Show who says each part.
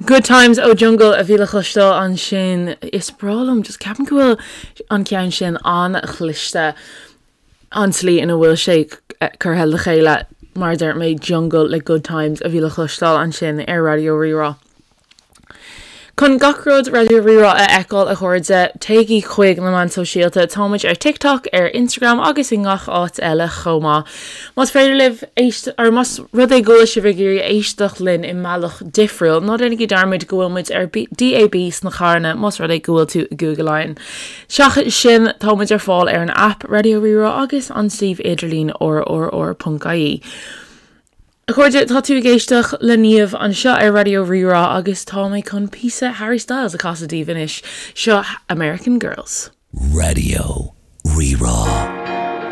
Speaker 1: Good Times ó Jungle a bhí le cloisteáil ansin. Is breá liom, just ceapaim go bhfuil an ceann sin an-chliste, an tslí ina bhfuil sé curtha le chéile, mar a dúirt mé, Jungle le Good Times a bhí le cloisteáil ansin ar Raidió Rí-Rá. Chun gach rud Raidió Rí-Rá a fheiceáil, a chairde, téigí chuig na meáin sóisialta. Táimid ar TikTok, ar Instagram agus i ngach áit eile chomh maith. Más féidir libh éist, or más rud é go bhfuil sibh ag iarraidh éisteacht linn i mbealach difriúil, ná déanaigí dearmad go bhfuil muid ar DAB sna carranna más rud é go bhfuil tú i gCúige Laighean. Seachas sin, tá muid ar fáil ar an aip Raidió Rí-Rá agus an suíomh idirlín rrr.ie. A chairde, tá tú ag éisteacht le Niamh anseo ar Raidió Rí-Rá agus tá mé chun píosa Harry Styles a chasadh daoibh anois. Seo American Girls.
Speaker 2: Raidió Rí-Rá.